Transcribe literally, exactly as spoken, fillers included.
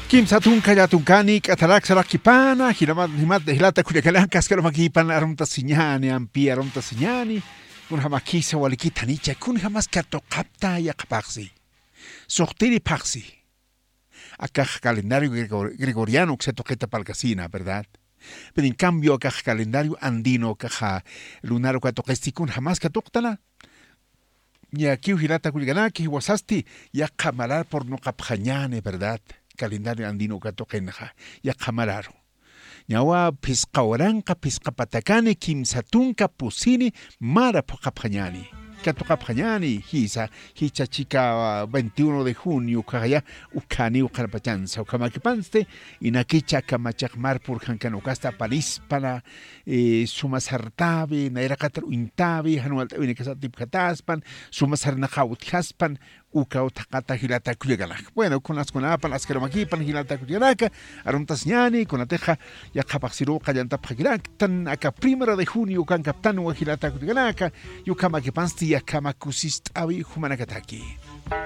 Kimsa tunka llatunkani k'atarak sarakipana, jilata kullakanaka askarumakipana arumtasiñani ampi arumtasiñani. Kunjamakisa walikitanicha kunjamas katuqapta yaqapaxsi, suqtiri phaxsi. Akax calendario gregoriano uksa tuqita palkasina, verdad? Pero en cambio akax calendario andino kaxa lunaru katuqisti kunjamas katuqtana. Ñakiw jilata kullkanaki jiwasasti, yaqha marar purnuqapxañani, verdad? Calendario andino katuqinxa yaqha mararu. Ñawa phisqa waranqa phisqa patakani kimsa tunka pusini mara phuqapxañani, katuqapxañani. Jisa, jicha chika veintiuno de junio ukhaya, ukhaniw qarpachansa ukhamakipansti. Inakicha kamachaq mar purjankan ukasta aparispana, suma sartawi nayraqatar uñtawi jan walt'awinakasatipjataspan, suma sarnaqaw utjaspan. Ukaw thaqata jilata kullakanak. Bueno, kunaskunapan askarumakipan jilata kullakanaka, arumtasiñani kunatixa yaqapaxsiruw qallantapxakiraktan aka primero de junio ukankaptanwa jilata kullakanaka. Yukhamakipansti yakhama kusist'awi jumanakataki.